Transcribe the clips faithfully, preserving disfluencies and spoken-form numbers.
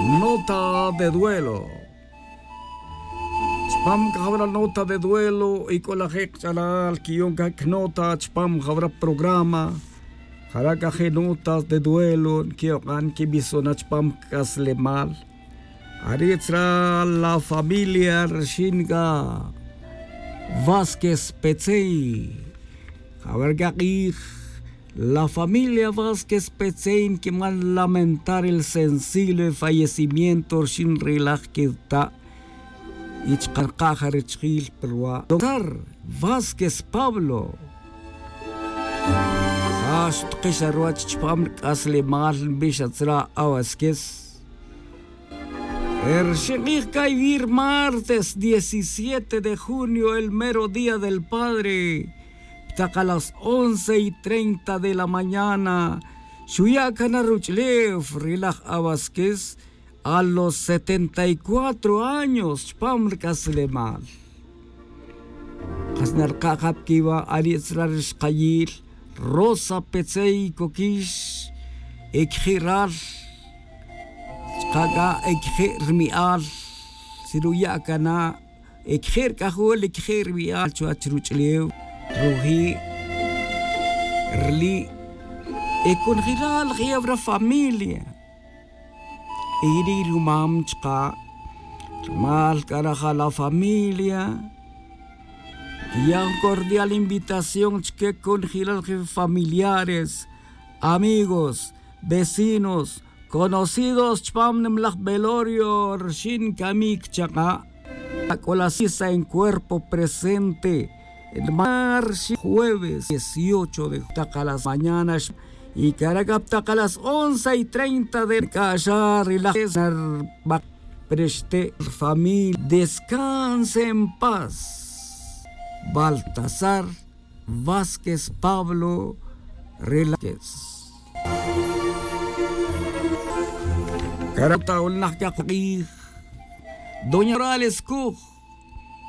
Nota de duelo. Chpam cajawra nota de duelo y c'o laje' kach'alal quiyon cac nota chpam jawra programa. Jara' caje notas de duelo quiyokan quibisona chpam c'aslemal. Ari tzra la familia rxin ca Vázquez Petzey. Jawra cak'ij la familia Vázquez Petzey nquiman lamentar el sensible fallecimiento rxin ri laj queta' y chka' rkaja richjil pa rwa' doctor Vázquez Pablo. Ja xtuqix a ruwach chpam rc'aslemal nbix a tzra' a Vázquez. Rxin k'ij caywi' martes diecisiete de junio el mero día del padre. Ptaka las once y treinta de la mañana xuya' cana ruch'ulew ri laj Abasquez a los setenta y cuatro años chpam rc'aslemal. Kas narka' ja pa quiwa' ari' tzra' ri xkayil Rosa Petzey Coquix, e quiji' ral chka' c'a e quiji' rmi'al. Si ruya' cana e quiji' rc'ajol e quiji' rmi'al chuwech ruch'ulew ruji' rli' e conjelal je'ew ra familia. Y ri rumam chka' rumal c'a raja la familia quiya' jun cordial invitación chique conjelal jefe familiares, amigos, vecinos, conocidos chpam nimlaj velorio rxin camic chaka'. C'o la sisa en cuerpo presente el martes jueves dieciocho de taka las mañanas y caraca taka las once y treinta de c'a xa ri laj nar bak preste familia descanse en paz. Baltasar Vázquez Pablo Relaquez. Carata ulnaj cakuk'ij doña Morales Cuj.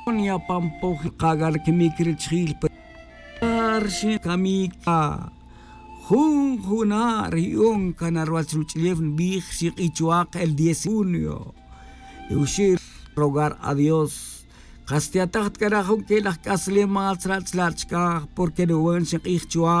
Doña Pampoj kagar quimic richjil. Rxin camic jun juna' ri'on cana ruwach ruch'ulew nbij rxin k'ichuak el diez junio. Y uxi' rogar a Dios kas tiataj ta cara' jun quelaj c'aslemal tzra' chla' chicaj porque ruwan xink'ij chuwa.